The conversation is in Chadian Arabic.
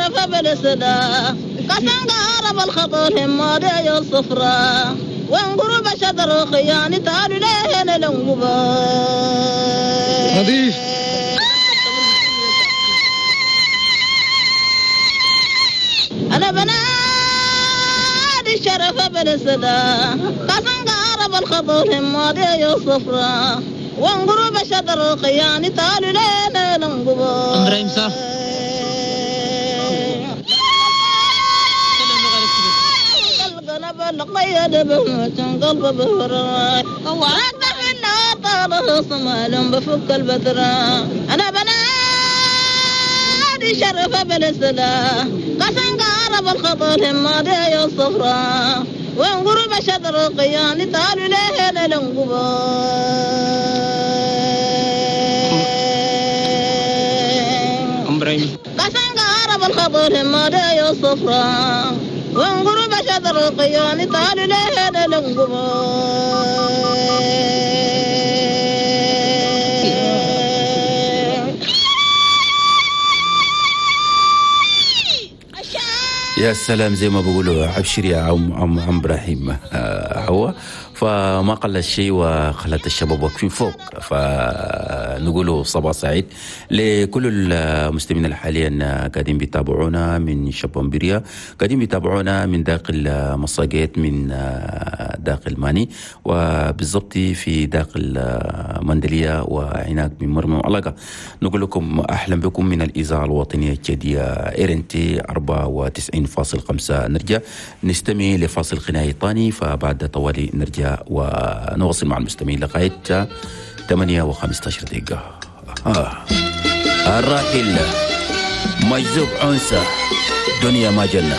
الشرف بالسدا قسم قارب الخطر همادي الصفراء وانقرب شدر خياني تعالوا لهنا لنقبا نظيف. أنا بنادي الشرف بالسدا قسم قارب الخطر همادي الصفراء وانقرب شدر خياني تعالوا لهنا لنقبا. إبراهيم صح. بفك البترة أنا بنادي شرف بالسلا قسم قارب الخطر همادي الصفراء وانقرب شدر القياني تعالوا لهنا لنقبا. قسم قارب الخطر همادي الصفراء وانقرب شدر القياني تعالوا لهنا لنقبا. يا سلام، زي ما بيقولوا عبشر يا عم ابراهيم هو فما قل الشيء وخلت الشباب واقفين فوق. فنقولوا صباح سعيد لكل المسلمين اللي حاليا قاعدين بيتابعونا من شبامبريا، قاعدين بيتابعونا من داخل مساجد، من داخل ماني، وبالضبط في داخل مندلية وعناق من مرمى وعلاقة. نقول لكم أهلا بكم من الإذاعة الوطنية الجديدة إرنتي 94.5. نرجع نستمع لفاصل غنائي ثاني، فبعد طوالي نرجع ونواصل مع المستمعين لغاية 8:15 دقيقة. الراحل مجذوب عنسة دنيا ما جنة.